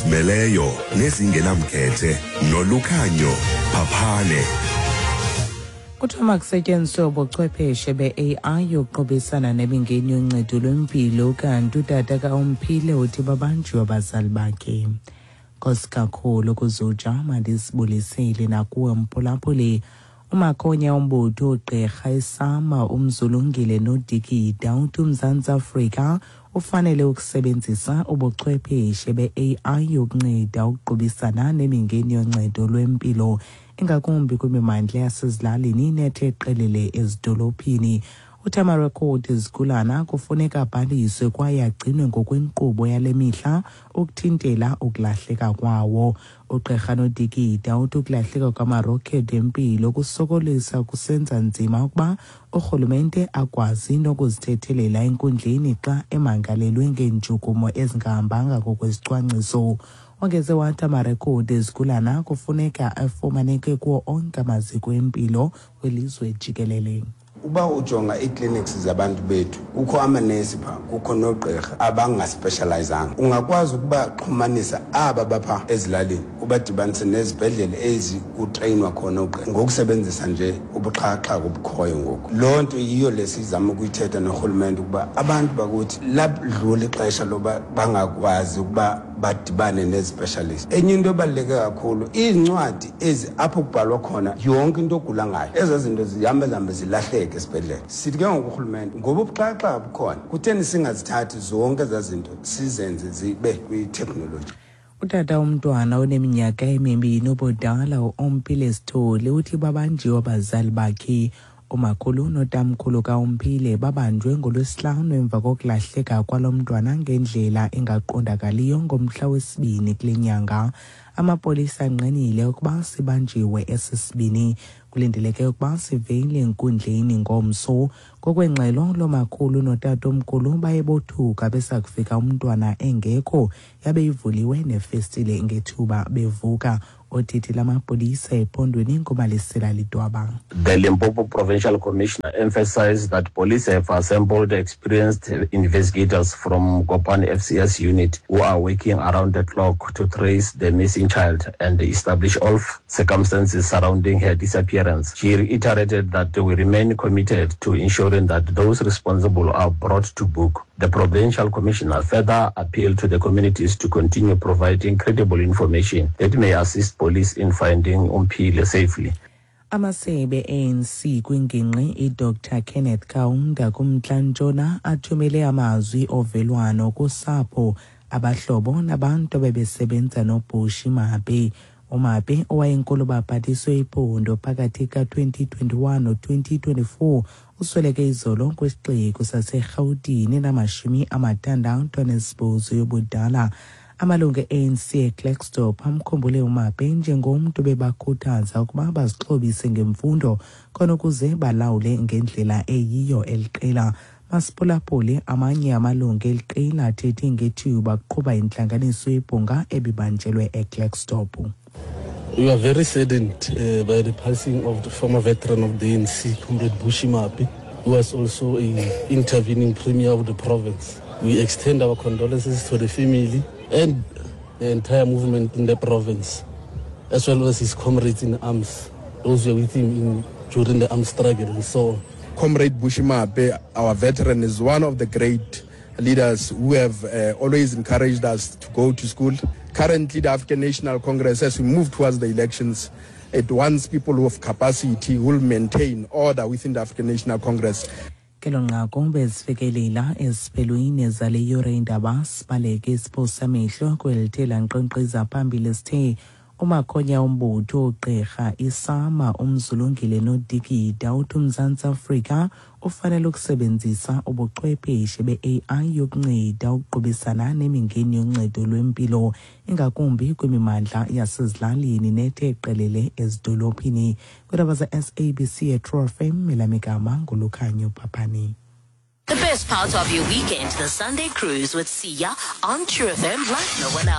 Ezizimeleyo nezingenamkhethe noLukhanyo Phaphane. Kuthiwa makusetyenziswe ubuchwepheshe be-AI yokuqubisana nemingeni yoncedo lwempilo, kanti utata kaOmphile uthi babanjiwe abazali bakhe. Nkosi kakhulu kuzuja, mandisibulisele nakuwe mphulaphuli. Umakhonya umbutho ugqirha isama uMzulungile Nodikida uthi uMzantsi Afrika ufanele ukusebenzisa ubuchwepheshe be-AI yokunceda ukuqubisana nemingeni yoncedo lwempilo, ingakumbi kwimimandla yasezilalini nethe qelele ezidolophini. Uthi amarekhodi ezigulana kufuneka abhaliswe kwaye agcinwe ngokwenkqubo yale mihla ukuthintela ukulahleka kwawo. Ugqirha Nodikida uthi ukulahleka kwamarokhedi empilo kusokolisa, kusenza nzima ukuba urhulumente akwazi nokuzithethelela enkundleni xa emangalelwe ngeentshukumo ezingahambanga ngokwesicwangciso. Wongeze wathi amarekhodi ezigulana kufuneka afumaneke kuwo onke amaziko empilo kwilizwe jikelele. Uba ujonga ii-clinics zabantu bethu, kukho amanesi phaa, kukho noogqirha abangaspecializanga. Ungakwazi ukubaxhumanisa aba bapha ezilalini, ubadibanise nezibhedlele ezi kutreyinwa khona oogqirha ngokusebenzisa nje ubuxhakaxhaka obukhoyo ngoku. Loo nto yiyo le sizama ukuyithetha norhulumente, ukuba abantu bakuthi ladlula ixesha loba bangakwazi ukuba badibane nezi-specialist. Enye into ebaluleke kakhulu, iincwadi ezi apho kubhalwa khona yonke into ogula ngayo, ezaa zinto zihambe zihambe zilahleke esibhedlele. Sithi ke ngoku urhulumente, ngoba ubuxhakaxhaka bukhona, kutheni singazithathi zonke ezaa zinto sizenze zibe kwiteknoloji? Utata umntwana oneminyaka emibini ubudala uOmphile Sithole uthi babanjiwe abazali bakhe. Umakhulu notamkhulu kaOmphile babanjwe ngoLwesihlanu emva kokulahleka kwalo mntwana ngendlela engaqondakaliyo ngomhla wesibini kule nyanga. Amapolisa angqinile ukuba sibanjiwe esi sibini. Kulindeleke ukuba sivele enkundleni ngomso. Ngokwengxelo, lo makhulu notatomkhulu baye bothuka besakufika umntwana engekho, yabe ivuliwe nefestile ngethuba bevuka. Othethe lamapolisa ephondweni nguMalisela Lidwaba. The Limpopo Provincial Commissioner emphasized that police have assembled experienced investigators from Gopani FCS unit who are working around the clock to trace the missing child and establish all circumstances surrounding her disappearance. She reiterated that we remain committed to ensuring that those responsible are brought to book. The provincial commissioner further appealed to the communities to continue providing credible information that may assist police in finding Omphile safely. Amasebe ANC kwingingqi iDr Kenneth Kaunda kumntla-ntshona athumele amazwi ovelwano kusapho, abahlobo nabantu abebesebenza noBushy Maape. UMaape, owayenkulu baphathiswe iphondo phakathi ka-2021 no-2024, usweleke izolo kwisixeko saseRhawutini enama-68 yobudala. Amalungu e-ANC eKlerksdorp amkhumbule uMaape njengomntu bebakhuthaza ukuba bazixhobise ngemfundo khona ukuze balawule ngendlela eyiyo eliqela. Masiphulaphule amanye amalungu eliqela athethe ngethuba kuqhuba intlanganiso yebhunga ebibanjelwe eKlerksdorp. We are very saddened by the passing of the former veteran of the ANC, Comrade Bushy Maape, who was also a intervening premier of the province. We extend our condolences to the family and the entire movement in the province, as well as his comrades in arms, those who were with him during the armed struggle and so on. Comrade Bushy Maape, our veteran, is one of the great leaders who have always encouraged us to go to school. Currently, the African National Congress, as we move towards the elections, it wants people who have capacity, who will maintain order within the African National Congress. Kelo nqaku bezifikelela esiphelweni zale yure indaba. Sibaleke isiphosa amehlo kwelithe lankqenkqeza phambili. Sithe umakhonya umbutho ugqirha isama uMzulungile Nodikida uthi uMzantsi Afrika ufanele ukusebenzisa ubuchwepheshe be-AI yokunceda ukuqubisana nemingeni yoncedo lwempilo, ingakumbi kwimimandla yasezilalini nethe qelele ezidolophini. Kwiindaba ze-SABC eTrue FM, elamigama nguLukhanyo Phaphani. The best part of your weekend, the Sunday Cruise with Sia on True FM, like no one else.